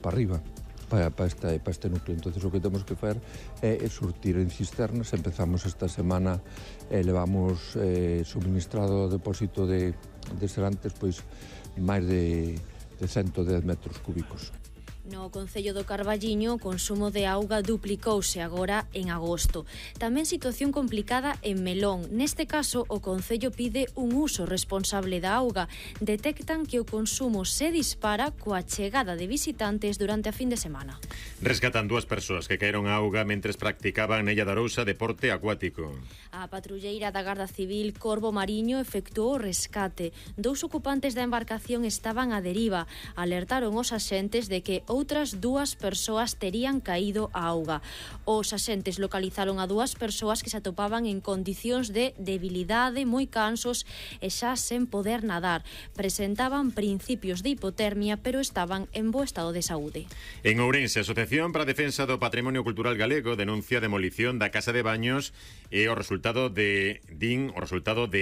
para arriba, para este núcleo. Entonces o que temos que facer é surtir en cisternas. Empezamos esta semana, levamos suministrado ao depósito de Serantes pois máis de 110 metros cúbicos. No concello do Carballiño, o consumo de auga duplicouse agora en agosto. Tamén situación complicada en Melón. Neste caso, o concello pide un uso responsable da auga. Detectan que o consumo se dispara coa chegada de visitantes durante a fin de semana. Rescatan 2 persoas que caeron a auga mentres practicaban na Illa de Arousa deporte acuático. A patrulleira da Garda Civil Corvo Mariño efectuou o rescate. 2 ocupantes da embarcación estaban á deriva. Alertaron os axentes de que outras 2 persoas terían caído á auga. Os axentes localizaron a 2 persoas que se atopaban en condicións de debilidade, moi cansos e xa sen poder nadar. Presentaban principios de hipotermia, pero estaban en bo estado de saúde. En Ourense, a Asociación para a Defensa do Patrimonio Cultural Galego denuncia a demolición da Casa de Baños e o resultado de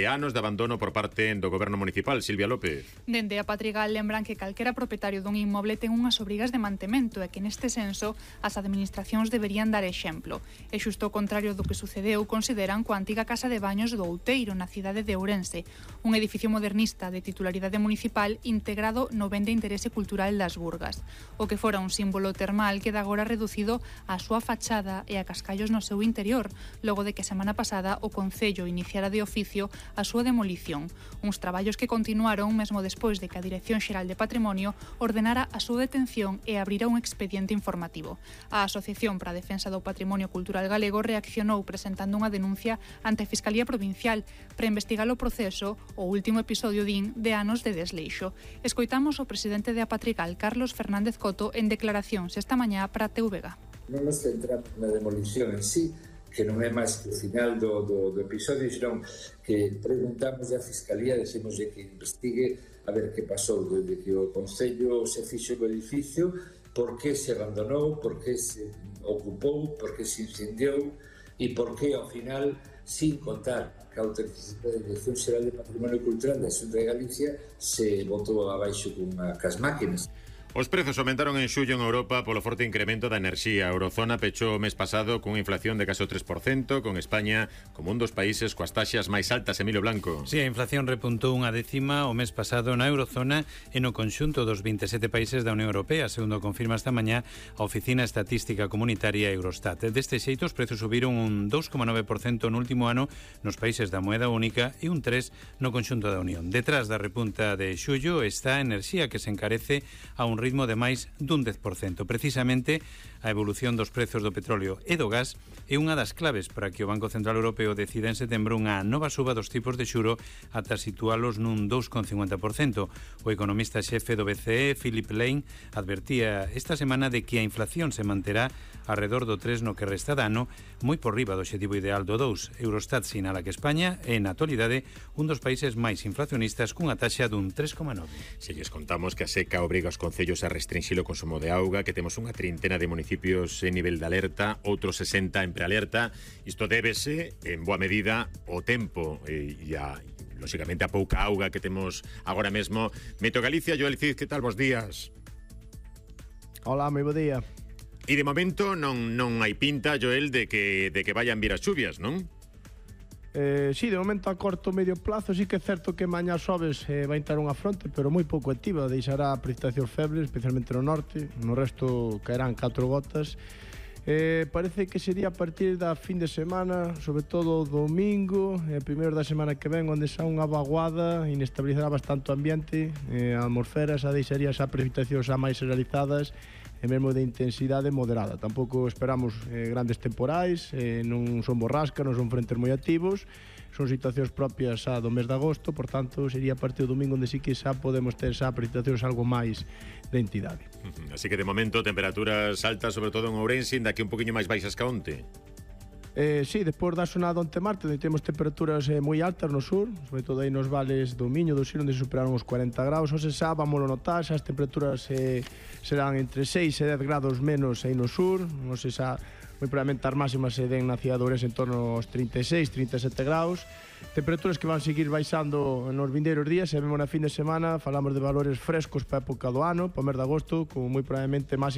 anos de abandono por parte do Goberno Municipal. Silvia López. Dende a Patrigal lembran que calquera propietario dun inmoble ten unhas obrigas de mantemento e que neste senso as administracións deberían dar exemplo. E xusto o contrario do que sucedeu, consideran coa antiga Casa de Baños do Outeiro na cidade de Ourense, un edificio modernista de titularidade municipal integrado no ben de interese cultural das Burgas. O que fora un símbolo termal queda agora reducido á súa fachada e a cascallos no seu interior, logo de que a semana pasada o Concello iniciara de oficio a súa demolición. Uns traballos que continuaron mesmo despois de que a Dirección Xeral de Patrimonio ordenara a súa detención e abrira un expediente informativo. A Asociación para a Defensa do Patrimonio Cultural Galego reaccionou presentando unha denuncia ante a Fiscalía Provincial para investigar o proceso, o último episodio de anos de desleixo. Escoitamos o presidente de Apatrigal, Carlos Fernández Coto, en declaracións esta mañá para TVG. Non nos centramos na demolición en sí, que non é máis que o final do episodio, senón que preguntamos a Fiscalía, decimoslle que investigue a ver que pasou desde que o Concello se fixo o edificio, por que se abandonou, por que se ocupou, por que se incendiou e por que ao final, sin contar que a autorización da Dirección Xeral de Patrimonio Cultural da Xunta de Galicia se botou abaixo cas máquinas. Os prezos aumentaron en xullo en Europa polo forte incremento da enerxía. A Eurozona pechou o mes pasado cunha inflación de case o 3%, con España como un dos países coas taxas máis altas. Emilio Blanco. Si, a inflación repuntou unha décima o mes pasado na Eurozona e no conxunto dos 27 países da Unión Europea, segundo confirma esta mañá a Oficina Estatística Comunitaria Eurostat. Deste xeito, os prezos subiron un 2,9% no último ano nos países da moeda única e un 3% no conxunto da Unión. Detrás da repunta de xullo está a enerxía, que se encarece a un ritmo de máis dun 10%. Precisamente, a evolución dos prezos do petróleo e do gas é unha das claves para que o Banco Central Europeo decida en setembro unha nova suba dos tipos de xuro ata situálos nun 2,50%. O economista xefe do BCE, Philip Lane, advertía esta semana de que a inflación se manterá alrededor do 3 no que resta de ano, moi por riba do obxectivo ideal do 2. Eurostat sinala que España é, na actualidade, un dos países máis inflacionistas cunha taxa dun 3,9. Se lles contamos que a seca obriga os concellos a restringir o consumo de auga, que temos unha trintena de municipios en nivel de alerta, outros 60 en prealerta. Isto débese, en boa medida, o tempo e lóxicamente, a pouca auga que temos agora mesmo. Meteo Galicia, Joel Cid, que tal? Bos días. Hola, moi bo día. E de momento non hai pinta, Joel, de que vayan vir as chuvias, non? Sí, de momento a corto medio plazo sí que é certo que mañá xoves vai entrar unha fronte, pero moi pouco activa, deixará precipitacións febles, especialmente no norte, no resto caerán 4 gotas. Parece que sería a partir da fin de semana, sobre todo o domingo, primeiro da semana que ven, onde xa unha vaguada inestabilizará bastante o ambiente, a atmosfera xa deixaría xa precipitacións xa máis realizadas e mesmo de intensidade moderada. Tampouco esperamos grandes temporais, non son borrascas, non son frentes moi activos, son situacións propias xa do mes de agosto, por tanto sería a partir do domingo onde sí que xa podemos ter xa precipitacións algo máis de entidade. Así que de momento temperaturas altas, sobre todo en Ourense, ainda que un poquinho máis baixas que onte. Sí, despois da xornada onte martes, onde temos temperaturas moi altas no sur, sobre todo aí nos vales do Miño, do Sil, onde se superaron os 40 graus. Hoxe xa vamos a notar, xa as temperaturas serán entre 6 e 10 grados menos aí no sur, non sei xa moi probablemente as máximas se den na cidade de Ourense en torno aos 36, 37 graus, temperaturas que van seguir baixando nos vindeiros días, e mesmo na fin de semana falamos de valores frescos para a época do ano, para o mes de agosto, como moi probablemente máximas